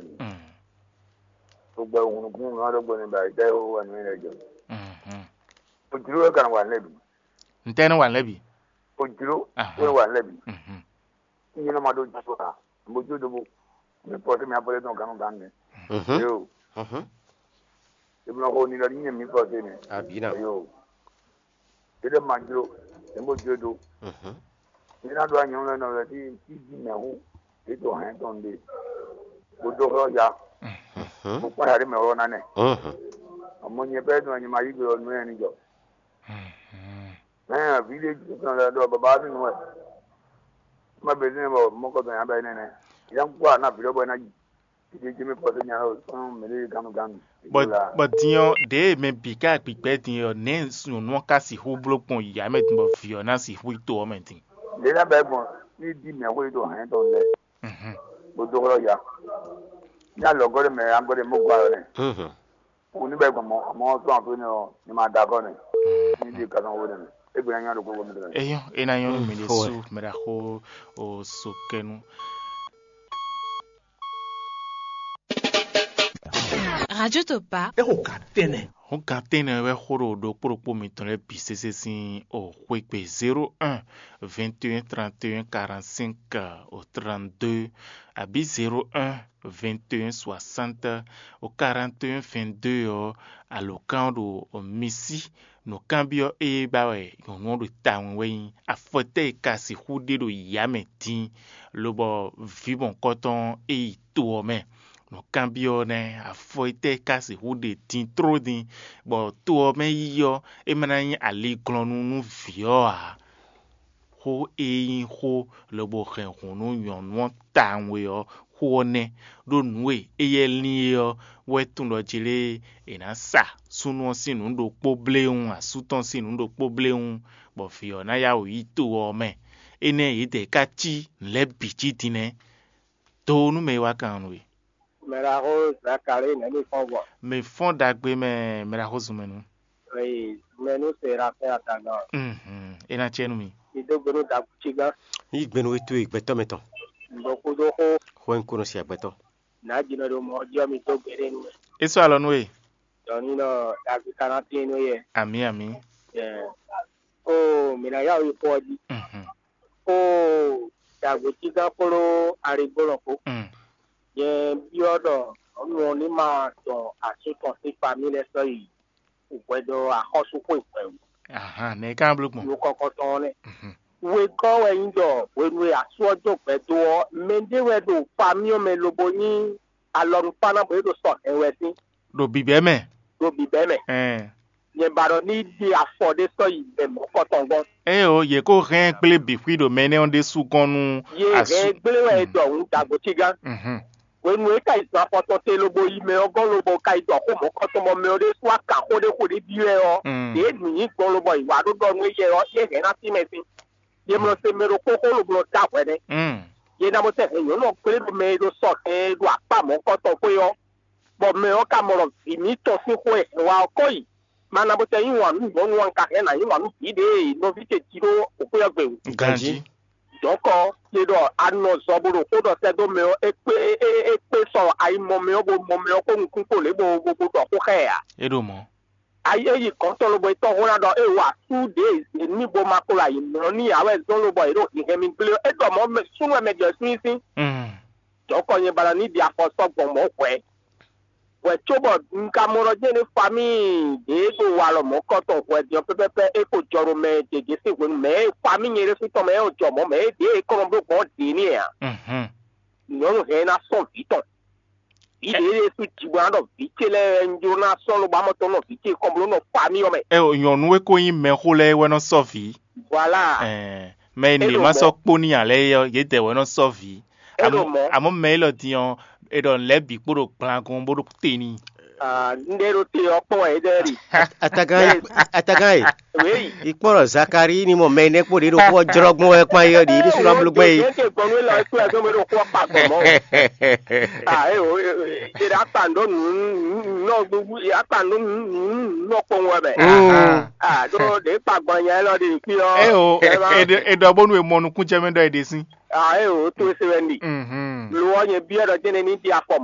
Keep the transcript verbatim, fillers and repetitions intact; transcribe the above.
Mm. Gbogbo hunukún ŋá ɖó gbɔn ní ba dá yó wà ní lɛ jɔ. Mhm. Ojúlówó kan wà lẹ́bi. Ntɛ́nɛ́ wà lɛ́bi. Ojúló Aha. Wé wà lẹ́bi. Mhm. Nyina ma ɖó jɔ a. Mo jó dobo. Mi pɔ sí mi apɔlɛ tɔn ganu gan ne. Mhm. Yo. Mhm. Ebi ma ko ni lɔ ni mi pɔ sí mi. Abina. Yo. Ede ma jlo. Ebo jlo do. Mhm. Ni na do anyɔ lɛ nɔ lɛ ti ti di mɛ hu. Eto hɛn tɔn de. Bo do xɔ ya. Mhm. Mo kpa ya de mɛ wɔ na nɛ. Mhm. Ɔmɔ nyɛ bɛ do anyɔ ma yi gbe ɔ nu yɛ ni jɔ. Mhm. Hɛn, vǐ ɖé jí tɔn lɛ́ɛ ɖɔ baba ɔ́ sín nǔ wɛ. Má bɛ́ sínú bɔ mɔ̌kɔtɔn nya bɛ́ nɛnɛ. Yá kú àná vǐ ɖɔ́bɔ ná yi. Ìdí jí mi pɔ́ sí nya ɔ́ sɔ́n mǐ ɖé gánnu gánnu. Bɔ bɔ din ɔ́, ɖěe mɛ bǐ ká gbǐgbɛ́ din ɔ́, nɛ̌ nyɔ̌nu ɔ́ ka sixú bló gbɔn yǎ mɛ din bɔ vǐ ɔ́ ná sixú yi to ɔ́ mɛ din? Lě ná bɛ́ gbɔn ní dí mɛ xwé ɖo hɛ̌n tɔn lɛ́ɛ. Mhm. Bó dó xlɔ́ ya. Ní alɔgɔ́ ɖé mɛ agɔ́ ɖé mó gɔ́ alɔ nɛ́. Mhm. Wò ní bɛ́ gbɔn mɔ̌, amɔ̌ sɔ́ àfin nɛ ɔ́, ní ma da akɔ́ nɛ. Ní di kanɔ wo nɛ. É gbé ná nyá ɖo gbogbo mi tɔn. Eyɔn, é ná nyɔ́ nú mi ɖésú, mɛ ɖaxó o sokɛnu. Radio Topa. É xo gǎn tɛ́nnɛ. Xó gǎn tɛ́nnɛ wɛ xó ɖo ɖokpó ɖokpó mitɔn lɛ́ɛ bǐ sésé sín o xwé gbe zéro un, vingt et un, trente et un, quarante-cinq, o trente-deux, abǐ zéro un, vingt et un, soixante, o quarante et un, vingt-deux ɔ́, alǒkan ɔ́ ɖo mi sí. Nǔkanbyɔ́ e ba wɛ nyɔ̌nu ɔ́ ɖo tawun wɛ nyí: afɔ tɛ́ e ka sixú ɖe ɖo yǎ mɛ din, lobɔ vǐ mɔ̌hunkɔtɔn e yi to ɔ́ mɛ? Nǔkanbyɔ́ nɛ́: afɔ tɛ́ e ka sixú ɖe din tló din, bɔ to ɔ́ mɛ yi ɔ́, é ma ná nyí aliglɔ́nú nú vǐ ɔ́ ǎ? Xó e nyí xó lobo hɛn hǔn nú nyɔ̌nu ɔ́ tawun e ɔ́, xó ɔ́ nɛ́, ɖó nǔ e éyɛ́ lín é ɔ́ wɛ tunwun ɖɔ jlé è nǎ sa súnnu ɔ́ sín nǔ ɖokpó bléwún, asú tɔn sín nǔ ɖokpó bléwún, bɔ vǐ ɔ́ ná yá wǔ yi to ɔ́ mɛ. Énɛ́ yědɛɛ ka cí nǔ lɛ́ɛ bǐ jí din nɛ́. Do nú mɛ e wá kan nú we. Mɛ ɖaxó Zakalí nɛ̌ mi fɔ́n gbɔn? Mɛ fɔ́n ɖagbe mɛ, mɛ ɖaxó zun mɛ nu. Eyi mɛ nú se ɖa fɛn atagán. Mhm. É ná cɛ nú mi. Mi dó gbe nú dagúcigán. Yí gbe nú we towe gbɛtɔ́ mɛ tɔn. Nǔɖokúɖó xó. Xó e un ko nɔ si agbɛtɔ́. Nǎ jǐnɔ ɖo mɔ̌ ɔ́ jí ɔ́, mi dó gbe ɖé nú mɛ. É sɔ́ alɔ nú we. Dɔ̌ninɔ David ka ná tín nú yɛ. Amǐ, amǐ. Yɛ. Ó, mǐ ná yá wǔ yi xó ɔ́ jí. Mhm. Ó, dagúcigán kpló aligbólɔ kpó. Mm. Nyɛ byɔ́ ɖɔ nyɔ̌nu ɔ́ ní ma dɔn asú tɔn sín famí lɛ́ɛ sɔ́ yi hwɛɖɔ axɔ́súxwé hwɛ̌ wú. Ahan, nɛ̌ é ka bló gbɔn? Nukɔkɔtɔn ɔ́ nɛ́. Mhm. Wegɔ́ wɛ nyí ɖɔ hwenu e asú ɔ́ dó gbɛ dó ɔ́, mɛɖé wɛ ɖo famí ɔ́ mɛ lobo nyí alɔnukpáná bɔ é ɖo sɔ hɛn wɛ sín Ɖo bǐbɛ́ mɛ. Ɖo bǐbɛ́ mɛ. Ɛn. Nyɛ ba ɖɔ ní ɖe afɔ ɖé sɔ́ yi bɛ mɔ̌kɔtɔn gɔ́n. Éeǒ, yě kó hɛn gblé bǐ xwí ɖo mɛ énɛ́ ɔ́ ɖésú gɔ́n nú Yé asú. Hɛn gblé wɛ e ɖɔ hǔn dagbo cí gán. Mhm. Hwenu e ka yi zɔn afɔtɔn te lobo yi mɛ ɔ́ gɔ́n lobo ka yi ɖɔ xó mɔ̌kɔtɔn bɔ mɛ ɔ́ ɖésú aka xó ɖé xo ɖé byɔ́ ɛ ɔ́, Mm. Yě nǔ nyi gbɔn lobɔ yi wǎ ɖó ɖɔ nú éyɛ́ ɔ́, yé hɛn ná sí mɛ sín. Yě mlɔ se mɛ ɖokpó xó lobo nɔ dó ahwɛ nɛ́. Mm. Yě ná bó sɛ́ hɛn nyɔ̌nu ɔ́ gblé ɖo mɛ e ɖo sɔ hɛn ɖo akpá mɔ̌kɔtɔn xwé ɔ́, bɔ mɛ ɔ́ ka mɔ ɖɔ vǐ mǐtɔn sín xó e hɛn wá ɔ́ kɔ yi. Ma ná bó sɛ́ yí wǎn nú nyɔ̌nu ɔ́, un ka hɛn nǎ yí wǎn nú vǐ ɖě e nɔ vǐ ce jí ɖó xwé ɔ́ gbe wú. Ganjí. Dɔ̌nkɔ, yě ɖɔ a nɔ zɔ bó ɖo xó ɖɔ sɛ́ dó mɛ ɔ́, é kpé é é é kpé sɔ ayi mɔ mɛ ɔ́, bó mɔ mɛ ɔ́ kpó nukún kpó lě bó bó bó ɖɔ xó xá ɛ ǎ. É ɖo mɔ̌. Ayi é yi gɔ̌n tɔn lobo e tɔ́ xó ná ɖɔ é wa sú ɖě e ní bo ma kplɔ ayǐ mlɔ́ n'i ǎ wɛ zɔ́n lobɔ è ɖo hǐnhɛn mì gblé ɔ́, é ɖɔ mɔ̌ mɛ súnnu wɛ mɛ jɛ súnnu sín. Mm. Dɔ̌nkɔ nyɛ ba ná ní ɖi afɔ sɔ́ gbɔn mɔ̌ hwɛ̌. Hwɛ̌ cóbɔ un ka mɔ ɖɔ jɛ́n ɖé famíi ɖě ɖo walɔ mɔ̌kɔtɔn hwɛ din ɔ́ pɛ́pɛ́pɛ́ é ko jɔ ɖo mɛ gěgé sín hwenu mɛ e famíi nyɛ ɖésú tɔn mɛ é jɔ mɔ̌ mɛ é ɖě e kɔn nɔ bló gbɔn ɔ́ ɖě n'i ǎ. Mhm. Nyɔ̌nu hɛn ná sɔ́ vǐ tɔn. Vǐ ɖě ɖésú jǐ bó ná ɖɔ vǐ ce lɛ́ɛ wɛ un jló ná sɔ́ lobo amɔtɔn nɔ vǐ ce kɔn bló nɔ famíi ɔ́ mɛ. Ɛ o, nyɔ̌nu e ko nyí mɛxó lɛ́ɛ wɛ nɔ sɔ́ vǐ. Voilà. Ɛɛ, mɛ e É nǐ ɖo ma mɔ̌. Sɔ́ kpó n'i ǎ lɛ́ɛ é ɔ́, yědɛɛ wɛ nɔ sɔ́ vǐ. É ɖo Amɔ̌ mɔ̌. Amɔ̌ mɛ élɔ́ din ɔ́, è ɖɔ lɛ̌ bǐ kpo ɖo gblangun bó ɖo te n'i. Ah, un ɖe ɖo te ɔ́ kpɔ́n wɛ é ɖe ɖi. Atagán e, atagán e, Oui. Ikpɔ́n ɖɔ Zakalíi ní mɔ mɛ énɛ́ kpó ɖě ɖo xó ɔ́ jlɔ́ gbɔn wɛ kpán é ɔ́ ɖi, é ɖésú ná bló gbɛn é. Yě ke gbɔn nú élɔ́ é kplɔ́ ɛ dó mɛ ɖo xó ɔ́ kpa gbɔn mɔ̌. Ah, é o, é ɖo akpa ndo nǔ nɔ gbogbo, akpa ndo nǔ nɔ kpɔn wɛ mɛ. Mm. Ah, ɖó ɖě kpa gbɔn nya élɔ́ ɖi kpí ɔ́. É o, é ɖɔ bónú è mɔ nukún jɛ mɛ ɖɔ è ɖe sín. Ah, é o, tó é se wɛ nɖi. Mhm. Lo ɔ́ nyɛ byɔ́ ɖɔ jɛ́n ní ɖi afɔ mɔ̌.